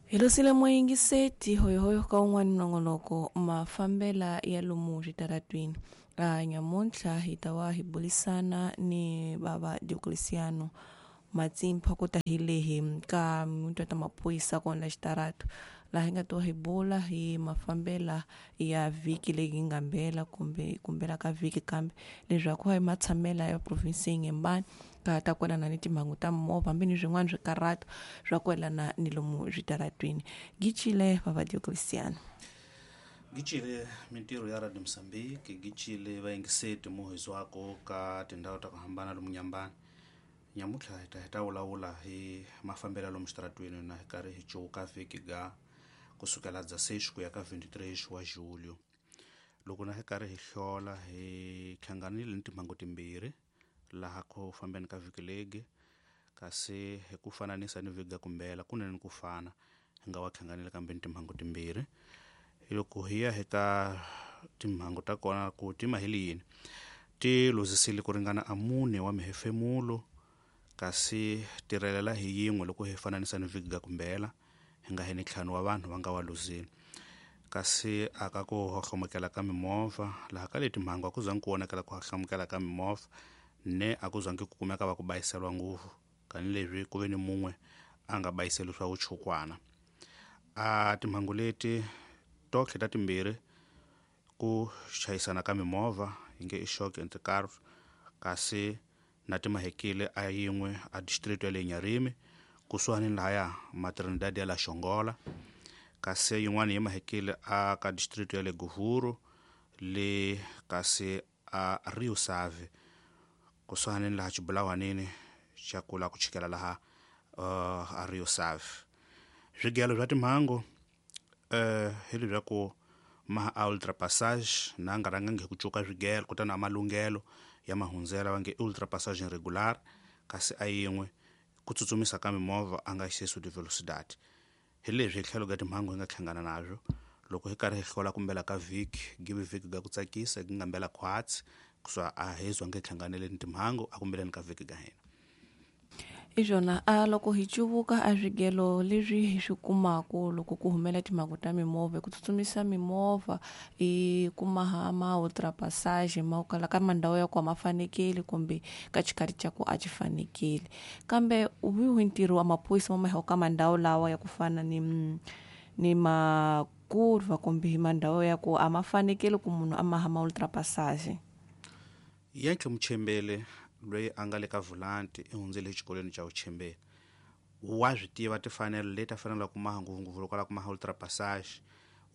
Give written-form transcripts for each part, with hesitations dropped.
Hi losile muyingiseti hoyohoyo ka wun'wani nongonoko mafambela ya lomu switaratwini. Nyamuntlha hi ta va hi bulisana ni bava Diocleciano Matsimpha ku ta hi lehi ka mutwa ta maphorisa kona xitaratu laha hi nga ta hi bula hi mafambela ya vhiki leyi nga mbela kumbe kumbela ka vhiki kambe leswaku hi matshamela ya province Inhambane ka ta kwelana ni timhangu ta mimovha hambi ni swin'wana swikarhato swa kwelana ni lomu switaratwini. Gicile bava Diocleciano. Gicile mintirho ya Radio Mozambique, gicile vayingiseti muhizwako ka tindhawu ta ku hambana lomu Nyambani. Nyamuntlha hi ta vulavula hi mafambelo lomu xitaratwini na hi karhi hi cuka vhiki ga kusukela dza 6 ku ya ka 23 wa julho. Loko na hi karhi hi hlola hi hlanganile ni timhangu timbirhi laha ku fambeni ka vhiki legi, kasi hi ku fananisa ni vhiki ga kumbela kunene ku fana hi nga wa hlanganile kambe ni timhangu timbirhi. Loko hi ya eka timhangu ta kona ku tima hi yini, ti luzisile ku ringana a mune wa mihefemulo, kasi tirhelela hi yin'we loko hi fananisa ni vhiki ga kumbela hi nga heni ntlhanu wa vanhu va nga wa luzile. Kasi aka ku hohlomukela ka mimovha laha ka leti mhangu a ku zangi ku vonakela ku hohlomukela ka mimovha, ne a ku zangi ku kumeka va ku bayiseriwa ngopfu tanihileswi ku ve ni mun'we a nga bayiseli swa vuchukwana. A timhangu leti totlhe ta timbirhi ku chayisana ka mimovha hi nge i shock and car, kasi na timahekile a yin'we a district ya le Nyarimi kusuhani lahaya Matrinidad ya la Xongola, kasi yin'wana yi mahekile a ka district ya le Govuro le kasi a Rio Save kusuhani laha xibulawanini xa ku la ku chikela laha a Rio Save. Swigelo swa timhangu hi leswaku ma a ultrapassage na nga rhangangi hi ku cuka swigelo kutani a malunghelo ya mahundzela va nge ultrapassage irregular, kasi a yin'we ku tsutsumisa ka mimovha a nga excesso de velocidade. Hi leswi hi tlhelo ka timhangu hi nga hlangana nazwo loko hi karhi hi hlola kumbela ka vhiki, give vhiki ga ku tsakisa gi nga mbela khwatsi kuswa a hi zwange hi hlanganele ni timhangu a kumbeleni ka vhiki ga hina. Iswona a loko hi cuvuka a swigelo leswi hi swi kumaku loko ku humela timhangu ta mimovha ku tsutsumisa mimovha i kuma ha ma ultrapassage ma kala ka mandhawu ya ku a ma fanekeli kumbe ka xikhathi xa ku a xi fanekeli, kambe wihi ntirho wa maphorisa ma maheho ka mandhawu lawa ya ku fana ni makurva kumbe mandhawu ya ku a ma fanekeli ku munhu a maha ma ultrapassage? Yentle muchembele loyi a nga le ka vulanti i hundzele exikolweni xa vuchembele, wa swi tiva timfanelo leti a faneleke ku maha ngopfungopfu loko a lava ku maha ultrapassage,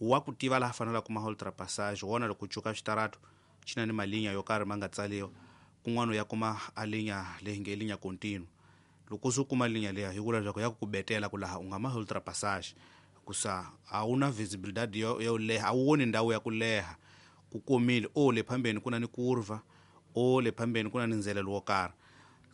wa ku tiva laha a faneleke ku maha ultrapassage wona loko cuka xitarato xi na ni malinya yo karhi ma nga tsaliwa, kun'wana u ya kuma a linya leyi nge linya continue. Loko se u kuma linya liya yi vula leswaku ya ku betela ku laha u nga mahi ultrapassage kusa a wu na visibilidade yo leha, a wu voni ndhawu ya ku leha, ku komile o le phambeni ku na ni kurva, o le phambeni ku na ni ndzelelo wo karhi.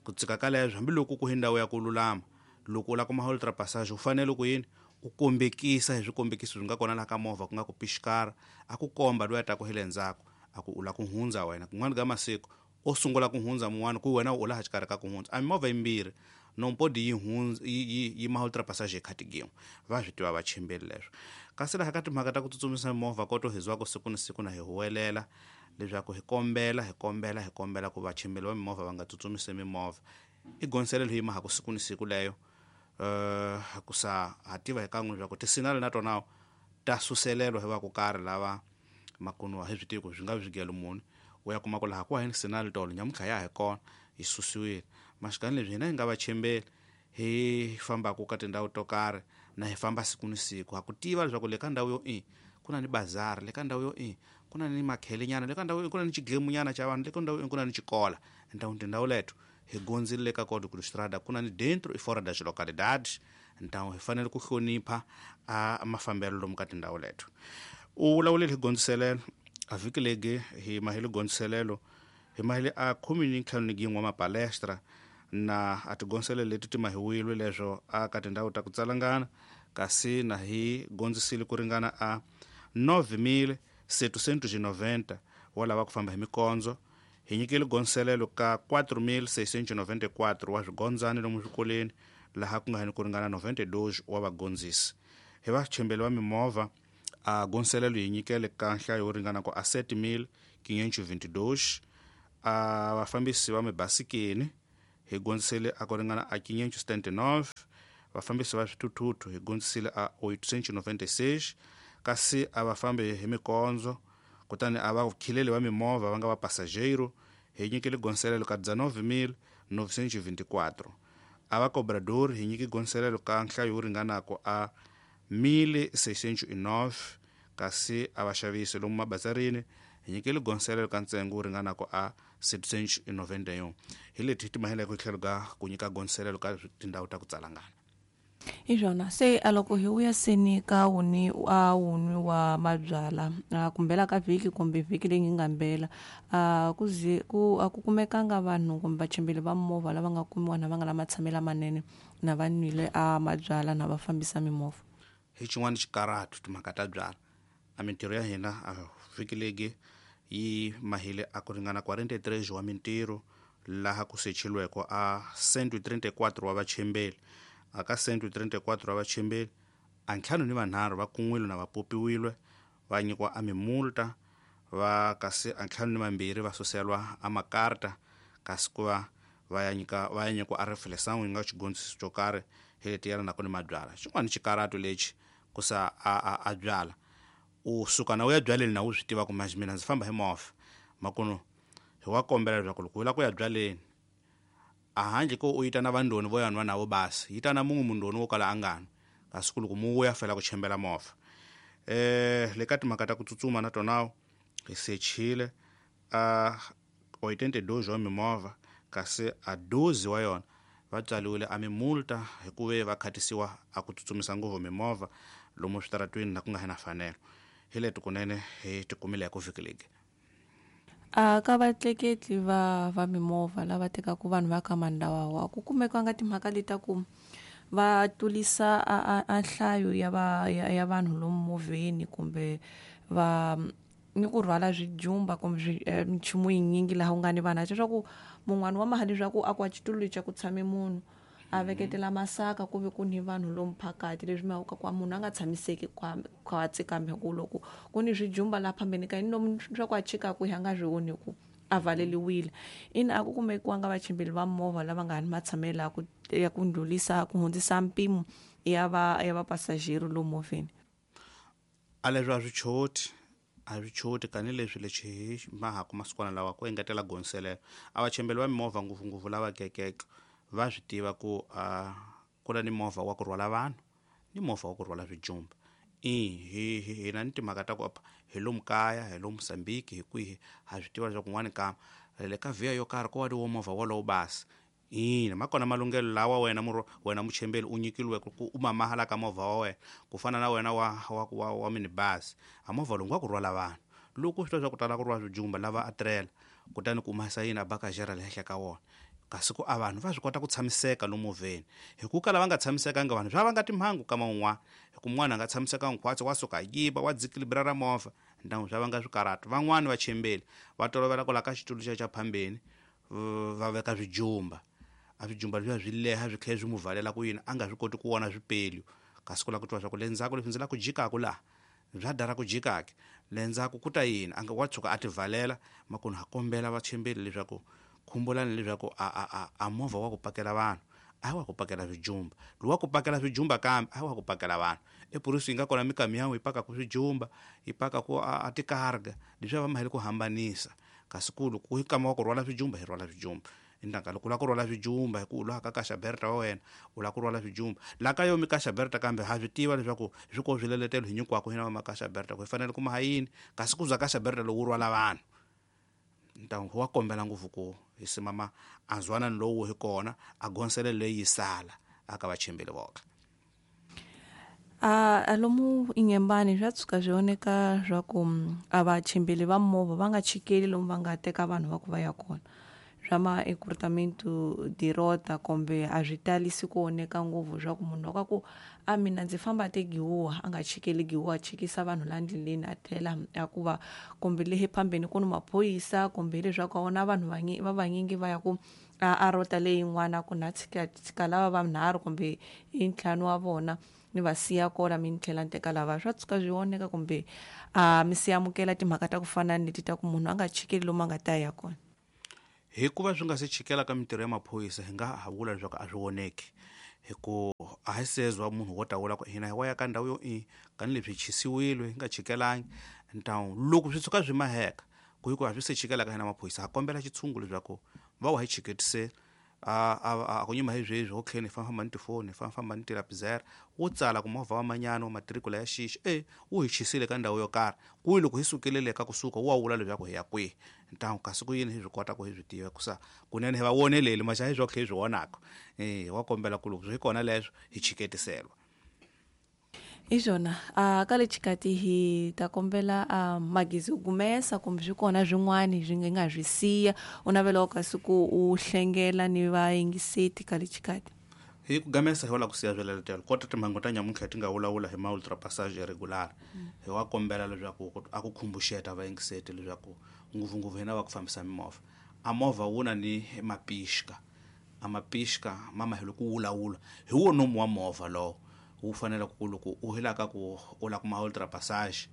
Ku tsika ka leswo hambiloko ku hi ndhawu ya ku lulama, loko u lava ku maha ultrapassage u fanele ku yini u kombekisa hi swikombekiso swi nga kona laha ka movha ku nga ku pixikara a ku komba loyi a taka hi le ndzhaku a ku u lava ku hundza wena. Kun'wana ka masiku o sungula ku hundza mun'wana ku wena u laha xikarhi ka ku hundza a mimovha yimbirhi nompodi yi hundza yi maha ultrapassage hi khati gin'we, va swi tiva vachimbeli leswo. Kasi laha ka timhaka ta ku tsutsumisa mimovha koto hi zwako siku ni siku na hi huwelela leswaku hi kombela hi kombela hi kombela ku vachimbeli va mimovha va nga tsutsumisi mimovha, i gonselelo yi mahaku siku ni siku leyo. Ku sa ha tiva hi kan'we leswaku tisinali na tona ta suselelwa hi va ku karhi lava makunuwa hi swi tivi ku swi nga swigelo muni, u ya kuma ku laha ku heni sinali tolo nyamuntlha ya hi kona yi susiwile. Maxikani leswi hina hi nga vachembeli hi fambaku ka tindhawu to karhi na hi famba siku ni siku ha ku tiva leswaku le ka ndhawu yo i ku na ni bazari, le ka ndhawu yo i ku na ni makhelenyana, le ka ndhawu yo i ku na ni xiglemunyana xa vanhu, le ka ndhawu yo i ku na ni xikola. Então tindhawu leto hi gondzile le ka Código de Estrada ku na ni dentro e fora das localidades, então hi fanele ku hlonipha a mafambelo lomu ka tindhawu leto. U vulavulile hi gondziselelo a vhiki legi hi mahele gondziselelo hi mahele a khume ni ntlhanu ni gin'we wa mapalestra na a tigonselelo leti ti mahiwile leswo a ka tindhawu ta ku tsalangana, kasi na hi gondzisile ku ringana a 9790 wa lava ku famba hi mikondzo. Hi nyikile gondziselelo ka 4694 wa swigondzani lomu swikolweni laha ku nga ni ku ringana 92 wa vagondzisi. Hi vachembeli va mimovha a gonselelo yi nyikele ka nhlayo yo ringana ku a 7522. A vafambisi va mibasikeni hi gondzisele a ku ringana a 579. Vafambisi va swithuthuthu hi gondzisile a 896, kasi a va fambi hi mikondzo kutani a va khileli va mimovha va nga va passageiro hi nyikile gonselelo ka 19924. A va cobrador hi nyike gonselelo ka nhlayo yo ringanako a 1609, kasi a vaxavisi lomu mabazarini hi nyikile gonselelo ka ntsengo wu ringanako a 791. Hi leti ti mahela ku tlhelo ka ku nyika gonselelo ka tindhawu ta ku tsalangana. Hi swona se a loko hi vuya seni ka wuni a wunwi wa mabyala a kumbela ka vhiki kumbe vhiki leyi nga mbela a ku zi ku a ku kumekanga vanhu kumbe vachembeli va movha lava nga kumiwa na va nga na matshamelo lamanene na va nwile a mabyala na va fambisa mimovha. Hi xin'wana xikaratu timhaka ta byala a mintirho ya hina a vhiki legi yi mahile a ku ringana 43 wa mintirho laha ku sechilweko a 134 wa vachembeli. A ka 134 wa vachembeli a ntlhanu ni vanharhu va kun'wile na va popiwile va nyikiwa a mimulta, va kasi a ntlhanu ni vambirhi va suselwa a makarta, kasi ku va va ya nyika va ya nyikiwa a refleção yi nga xigondziso xo karhi hi leti yelanaka ni mabyala. Xin'wana xikaratu lexi ku sa a byala u suka na u ya byaleni na u swi tiva ku manje mina ndzi famba hi movha makunu hi wa kombela leswaku loko u lava ku ya byaleni a handle ko u yita na vandoni vo ya nwa navo basi yi ta na mun'we mundoni wo kala a nga nwi, kasi ku loko mu vuya fela ku chembela movha. Le ka timhaka ta ku tsutsuma na tona hi sechile a 82 wa mimovha, kasi a 12 wa yona va tswaliwile a mimulta hi ku ve va khatisiwa a ku tsutsumisa ngopfu mimovha lomu switaratwini na ku nga ha na fanelo. Hi leti kunene hi ti kumile ku vhiki legi. A ka vatleketli va mimovha lava tekaka vanhu va ka mandawa ku kumekanga timhaka leti ta ku va tlurisa a nhlayo ya va ya vanhu lomu movheni kumbe va ni ku rhwala swijumba kumbe minchumu yinyingi laha ku nga ni vanhu leswaku mun'wani wa mali leswaku a ku a xitulu lexi ku tshame munhu a veketela masaka ku ve ku ni vanhu lomu phakati leswi mhaka ku munhu a nga tshamiseki khwatsi kambe ku loko ku ni swijumba laha phambeni ka yini lomu swa ku a chikaku hi a nga swi voni ku a valeliwile. Ina a ku kumekiwanga vachimbeli va movha lava nga ni matshamelo ya ku ndlulisa ku hundzisa mpimo ya va ya vapasajeri lomu movheni. A leswi a swi choti a swi choti tanihileswi lexi hi mahaku masikwana lawa ku engetela gonselelo a vachembeli va mimovha ngopfungopfu lava kekeke va swi tiva ku a ku na ni movha wa ku rhwala vanhu ni movha wa ku rhwala swijumba. I hina ni timhaka ta ku hi lomu kaya hi lomu Mozambique hi kwihi ha swi tiva leswaku kun'wani ka le ka vhiya yo karhi ko va ni wo movha wolowo basi. Ina ma kona malunghelo lawa wena wena muchembeli u nyikiliweke ku u mamahala ka movha wa wena ku fana na wena wa minibus a movha lowu wa ku rhwala vanhu loko swi twa swa ku tala ku rhwala swijumba lava a tirhela kutani ku humesa yini a bakajera le henhla ka wona, kasi ku a vanhu va swi kota ku tshamiseka lomu movheni hi ku kala va nga tshamisekanga vanhu swa vanga timhangu kama un'wana hi ku mun'wana a nga tshamisekanga khwatsi wa suka yiva wa dzikilibra ra movha ndyangu swa vanga swikaratu. Van'wani vachembeli va tolovela ku la ka xitulu xa phambeni va veka swijumba a swijumba leswiya swi leha swi tlhela swi n'wi valela ku yini a nga swi koti ku vona swipelu, kasi ku lava ku twa swa ku le ndzhaku leswi ndzi lava ku jikaku laha bya dara ku jikake le ndzhaku ku ta yini a nga wa tshuka a ti valela. Makunu ha kombela vachembeli leswaku khumbulani leswaku a movha wa ku pakela vanhu a wa ku pakela swijumba lowu wa ku pakela swijumba kambe a wa ku pakela vanhu epurisi yi nga kona mikamiyawu yi pakaku swijumba yi pakaku a tikarga leswiya va mahele ku hambanisa, kasi ku loko hi kama wa ku rhwala swijumba hi rhwala swijumba. Indanga loko u lava ku rhwala swijumba hi ku u lava ka kaxa berta wa wena u lava ku rhwala swijumba la ka yo mi kaxa berta kambe ha swi tiva leswaku swi ko swileletelo hi nyikiwaka hina va makaxa berta ku hi fanele ku maha yini, kasi ku za kaxa berta lowu wu rhwala vanhu ntangu wa kombela ngopfu ku hi simama a nzwanani lowu hi kona a gonsele leyi yi sala aka vachembeli voka. A lomu Inhambane swa tshuka swi voneka swa ku a vachembeli va movha va nga chikeli lomu va nga teka vanhu va ku va ya kona swa ma encurtamento de rota kumbe a swi talisi ku oneka ngopfu swa ku munhu loko a ku a mina ndzi famba te Giwa a nga chikeli Giwa a chikisa vanhu la ndleleni a tlhela a ku va kumbe le phambeni ku ni maphorisa kumbe hileswaku a vona vanhu va vanyingi va ya ku a rota leyin'wana ku na tshika lava va nharhu kumbe i ntlhanu wa vona ni va siya kona mi ni tlhela ni teka lava swa tshuka swi voneka kumbe a mi si amukela timhaka ta ku fana ni leti ta ku munhu a nga chikeli lomu a nga ta ya kona. Hikuva swi nga se chikela ka mintirho ya maphorisa hi nga ha vula leswaku a swi voneki hi ku a hi sezwa munhu wo ta vula ku hina hi wa ya ka ndhawu yo i tanihileswi hi chisiwile hi nga chikelangi ntawu loko swi tshuka swi maheka ku hi ku a swi se chikela ka hina maphorisa ha kombela xitshungu leswaku va wa hi chiketisela a ku nyima hi sweswi ho tlheni hi famba ni tifoni hi famba ni tilapizera wo tsala ku movha wa manyana wa matirikula ya xixi e wu hi chisile ka ndhawu yo karhi kwihi loko hi sukile le ka kusuka wu wa vula leswaku hi ya kwihi ntamu kasi ku yini hi swi kota ku hi swi tiva kusa kunene hi va voneleli maxa hi swo tlhe hi swi vonaka e wa kombela ku loko swi kona leswo hi chiketiselwa. Hi swona a ka le xikati hi ta kombela a Magezi u gumesa kumbe swi kona swin'wana swi nga swi siya u navela kasi ku u hlengela ni vayingiseti ka le xikati. Hi ku gamesa hi wala ku siya swiletelo kota timhangu ta nyamuntlha ti nga vulavula hi ma ultrapassage irregular hi wa kombela leswaku a ku khumbuxeta vayingiseti leswaku ngopfungopfu hina va ku fambisa mimovha a movha wu na ni mapixka a mapixka ma mahelo ku wulawula hi wo nomu wa movha lowo wu fanele ku loko u helaka ku u la kuma ultrapassage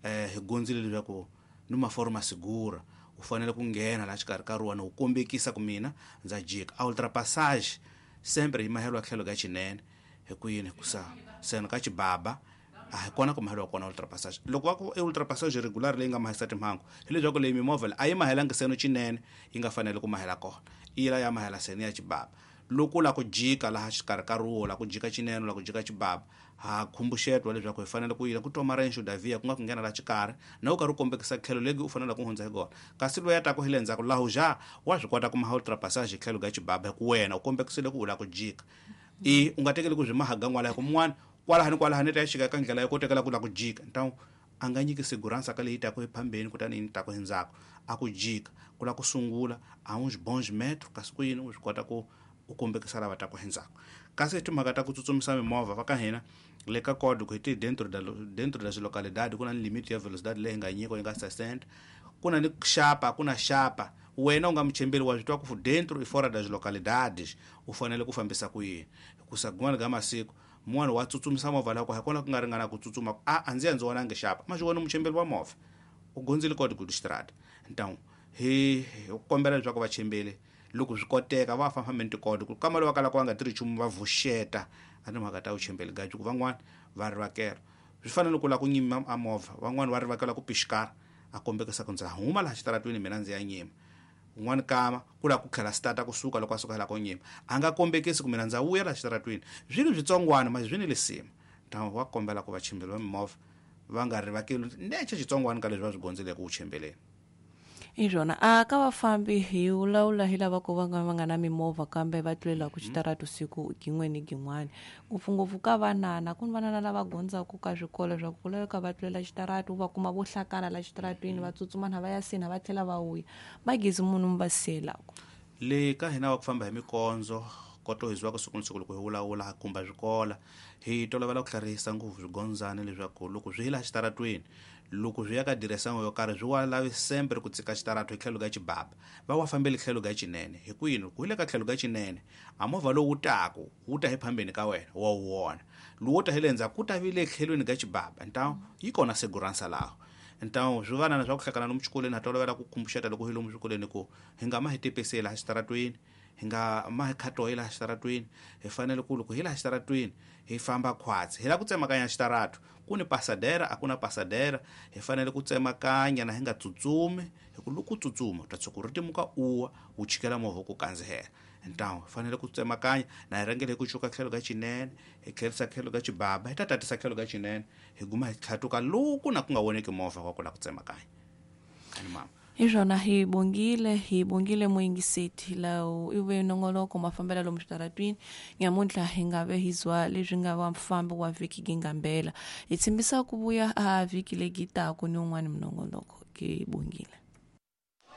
hi gondzile leswaku ni maforma segura u fanele ku nghena laha xikarhi ka rona u kombekisa ku mina ndza jika a ultrapassage sempre yi mahelo tlhelo ka xinene hi ku yini hikusa seno ka xibaba a hi kona ku mahelo kona ultrapassage loko va ku e ultrapassage regular leyi nga mahisa timhangu hileswaku leyi mimovha a yi mahelangi seno xinene yi nga fanele ku mahela kona yi la ya mahela seno ya xibaba loko la ku jika laha xikarhi ka ruwo la ku jika xinene la ku jika xibaba ha khumbuxetwa leswaku hi fanele ku yila ku toma renxo davia ku nga ku nghena la xikarhi na u karhi u kombekisa tlhelo legi u fanele ku hundza hi kona kasi loyi a taku hi le ndzhaku laha ja wa swi kota ku maha ultrapassage tlhelo ka xibaba hi ku wena u kombekisile ku u la ku jika i u nga tekeli ku swi mahaga n'wala hi ku mun'wana kwalahani kwalahani ta ya xika ka ndlela yo kotekela ku la ku jika ntawu a nga nyiki segurança ka leyi taku ephambeni kutani yi taku hi ndzhaku a ku jika ku la ku sungula a uns bons metros kasi ku yini u swi kota ku u kombekisa lava taku hi ndzhaku kasi timhaka ta ku tsutsumisa mimovha va ka hina le ka code ku hi ti dentro da dentro das localidade ku na ni limite ya velocidade leyi nga nyikiwa yi nga 60 ku na ni xapa ku na xapa wena u nga muchembeli wa swi twa ku dentro i fora das localidades u fanele ku fambisa ku yini hikusa kun'wana ka masiku mun'wana wa tsutsumisa movha lako hi kona ku nga ringana ku tsutsuma a ndzi ya ndzi vonangi xapa ma swi vona muchembeli wa movha u gondzile código de estrada então hi kombela leswaku vachembeli loko swi koteka va famba-fambeni tikode ku kama lava kalaka va nga tirhi nchumu va vuxeta a timhaka ta vuchembeli gaji ku van'wana va rivakela swi fanele ku lava ku nyima a movha van'wana va rivakela ku pixikara a kombekisa ku ndza huma laha xitaratweni mina ndzi ya nyima un'wana kama ku lava ku tlhela stata kusuka loko a suka la ko nyima a nga kombekisi ku mina ndza vuya laha xitaratweni swilo switsongwana ma swi ni lisima ntamu wa kombela ku vachembeli va mimovha va nga rivakeli nece xitsongwana ka leswi va swi gondzeleke ku chembeleni. Hi swona a ka vafambi hi vulavula hi lava ku va nga va nga na mimovha kambe va tlulelaku xitarato siku gin'we ni gin'wana ngopfungopfu ka vanana ku ni vanana lava gondzaku ka swikolo swa ku laveka va tlulela xitarato va kuma vo hlakana la xitaratweni va tsutsuma na va ya sina va tlhela va vuya magezi munhu mi va siyelaku. Le ka hina va ku famba hi mikondzo koto hi ziwaka siku ni siku loko hi vulavula kumba swikola hi tolovela ku tlharihisa ngopfu swigondzana leswaku loko swi hi laha xitaratweni loko swi ya ka diresango yo karhi swi wa lavi sempre ku tsika xitarato hi tlhelo ka xibaba va wa fambeli tlhelo ka xinene hi ku yini ku hi le ka tlhelo ka xinene a movha lowu taku wu ta hi phambeni ka wena wa wu vona lowu ta hi le ndzhaku ku ta vi le tlhelweni ka xibaba ntawu yi kona segurança laho ntawu swi vanana swa ku hlakana lomu xikolweni ha tolovela ku khumbuxeta loko hi lomu swikolweni ku hi nga ma hi tepeseli laha xitaratweni hi nga ma hi khatoyi laha xitaratweni hi fanele ku loko hi laha xitaratweni hi famba khwatsi hi lava ku tsemakanya xitarato ku ni pasadera a ku na pasadera hi fanele ku tsemakanya na hi nga tsutsumi hi ku loko u tsutsuma u ta tshuka ri timuka uwa wu chikela movha ku kandzihela ntawu hi fanele ku tsemakanya na hi rhangele hi ku cuka tlhelo ka xinene hi tlherisa tlhelo ka xibaba hi ta tatisa tlhelo ka xinene hi guma hi tlhatuka loku na ku nga voneki movha wa ku lava ku tsemakanya ani mama. Hi swona hi bongile muyingiseti lawo i ve nongoloko mafambelo lomu switaratwini nyamuntlha hi nga ve hi zwa leswi nga va mufambi wa vhiki gingambela hi tshembisa ku vuya a vhiki legi taku ni un'wana minongoloko ke bongile.